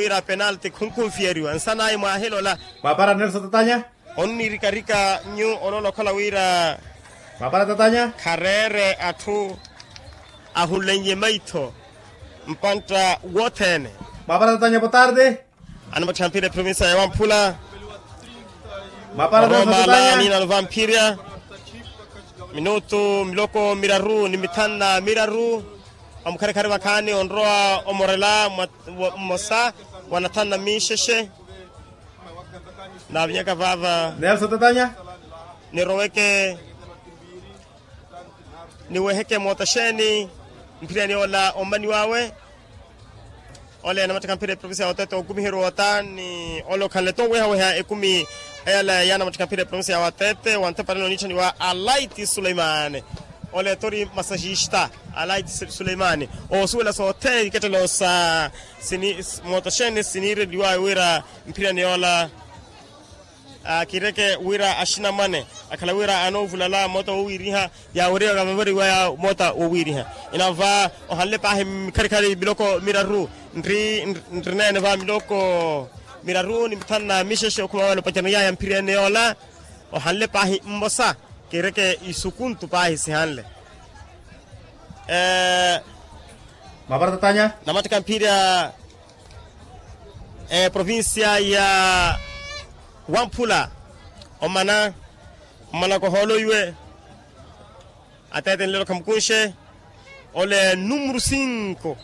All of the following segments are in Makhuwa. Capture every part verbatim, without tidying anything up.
wira penalti khunkhunfiyeriwa nsan'aye mwaahela ola. Mwaapara nelson tatanya. Onnirikarika nyu oloola okhala wira mwaapara tatanya. Khareere atthu ahunlennye maitho mpantta wothene. Mwaapara tatanya potarde. Anamattikha mpira eprovincia ya wamphula. Mwaapara tatanya. Oroomala niina nova mphirya minutu miloko miraru ni mithanu na miraru. Omukharikari vakhaani onrowa omorela mmosa wa nathanu na miixexe. Naavinyaka vaava nelson tatanya. Niroweke niweheke moota xeeni mphiryani ola omaniw'awe. Ole anamattikha mpira eprovincia ya otete okumiheriwa ota ni ole okhanle-tho owehaweha ekumi eyala yaanamattikha mpira eprovincia ya watete wa ntepanelo oniitthaniwa alaiti suleimani. Ole-tho ori masajista alaiti suleimani. Oosuwela sothene ikettelo sa moota xeeni siniireliwawe wira mphiryani ola. Kireke wira axinamwane akhala wira anoovulala moota wowiiriha. Yaaweriwa yavavariwa ya moota wowiiriha. Inava ohanle paahi mikharikhari miloko miraru nri nrineene va miloko miraru ni mithanu na mixexe okhuma vale opacerani yaya mphiriyene yoola. Ohanle paahi mmosa kireke isukuntu paahi sihanle. Mapara tatanya. Namattikha mphirya eprovincia ya wamphula omana mmana kohoolo iwe. Atete nlelo khamukunxe ole numuru cinco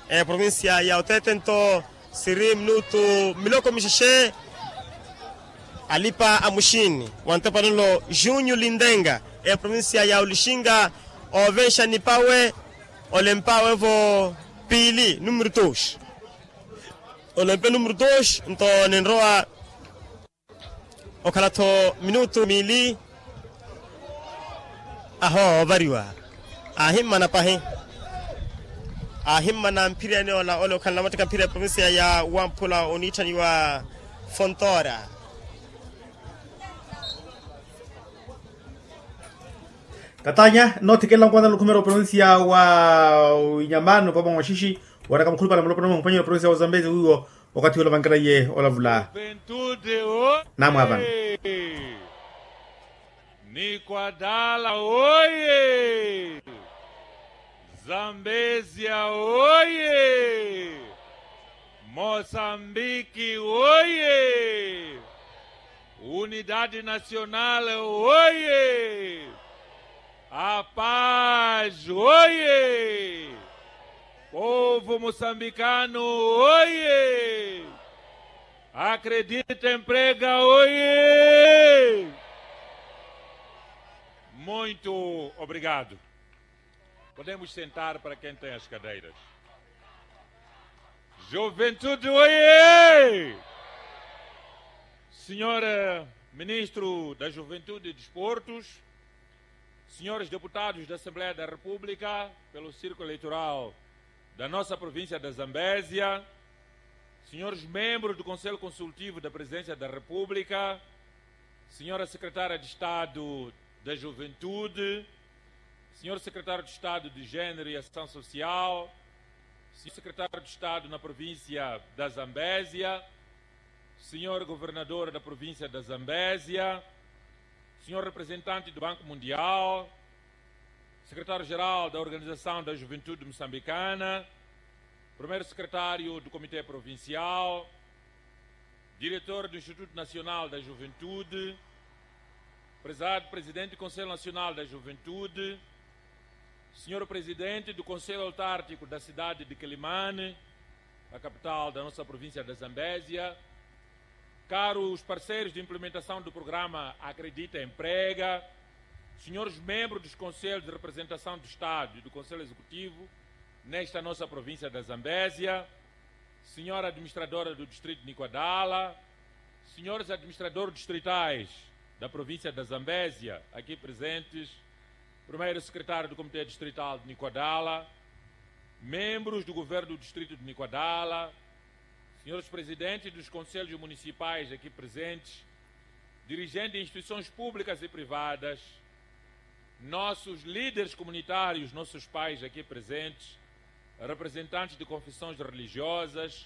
eprovincia ya otete nto siri minutu miloko mixexe. Alipa a muxini wa ntepanelo junio lindenga eprovincia ya olixinga ovenxa nipawe. Ole mpawe-vo piili numuru dos. Olempe numuru dos nto ninrowa okhala-tho minutu miili. Aho ovariwa aahimmana pahi. Aahimmana mphiriyani ola ole okhala namattikha mphira eprovincia ya wamphula oniitthaniwa fontora. Tatanya noothikela nkwanana lukhumeera oprovincia wa inyamano pamwe mwaxixi. Waraka mukhulupale mulopona mwampanyela oprovincia wa zambezi wiwo. Okathi wela vankeraiye olavula. Namwavana. Nikwadala oye. Zambezia oye. Mosambiki oye. Unidadi nasionale oye. Apaz oye. Povu musambikano oye. Akredita emprega oye. Muito obrigado. Podemos sentar para quem tem as cadeiras. Juventude oye. Senhor ministro da juventude e desportos, senhores deputados da assembleia da república pelo círculo eleitoral da nossa província da zambésia, senhores membros do conselho consultivo da presidência da república, senhora secretária de estado da juventude, senhor secretário de estado de género e ação social, senhor secretário de estado na província da zambésia, senhor governador da província da zambésia, senhor representante do banco mundial, secretário-geral da organização da juventude moçambicana, primeiro secretário do comité provincial, diretor do instituto nacional da juventude, prezado presidente do conselho nacional da juventude, senhor presidente do conselho autártico da cidade de quelimane, a capital da nossa província da zambésia, caros parceiros de implementação do programa acredita emprega, senhores membros dos conselhos de representação do estado e do conselho executivo nesta nossa província da zambésia, senhora administradora do distrito de nikwadala, senhores administradores distritais da província da zambésia aqui presentes, primeiro secretário do comité distrital de nikwadala, membros do governo do distrito de nikwadala, senhores presidentes dos conselhos municipais aqui presentes, dirigentes de instituições públicas e privadas, nossos líderes comunitários, nossos pais aqui presentes, representantes de confissões religiosas,